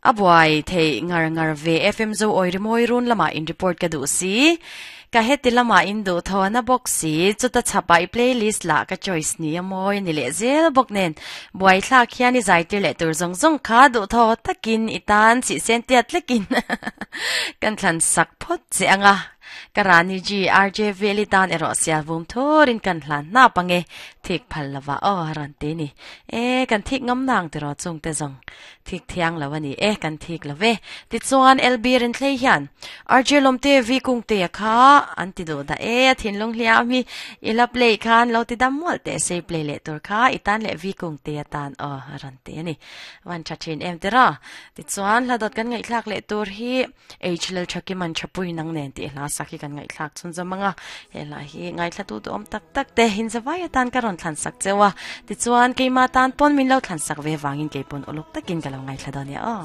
A buai theih ngar ngar ve FM Zo awi rimawi run lamah in report ka duh si. Ka heti lamah in duh thawn a bawk si. Chuta chhapah i playlist lah ka choice ni a mawi ni leh zel bawk nen. Buai thlak hian i zaitir leh tur zawng zawng kha duh thaw takin i tan chihsen tiat tlekin kan thlan sak phawt che anga. Ka Rani Ji, RJ Veli tan erawh sial vum thurin kan hlan hnap ange, thik phal lova aw a rawn ti ni. E, kan thik ngam nang tiraw chungte zawng. Thik thiang lo a ni e, kan thik lo ve. Tichuan, LB Rinthlei hian RJ Lawmte V Kungtea kha an ti duh dah e, a thinlung hliam hi i la play khan lo ti dam mual teh se i play leh tur kha i tan leh V Kungtea tan aw a rawn ti a ni. Van tha thin em tiraw? Tichuan, hla dawt kan ngaihthlak leh tur hi H Lalthakiman Thapui nang nen tih hla sak hi kan ngaihthlak chhun zawm ang a, he hla hi ngaithla tu duhawm tak tak te hinzavai atan ka rawn thlan sak cheu a, tichuan keimah tan pawn min lo thlan sak ve vangin kei pawn uluk takin ka lo ngaithla dawn nia aw.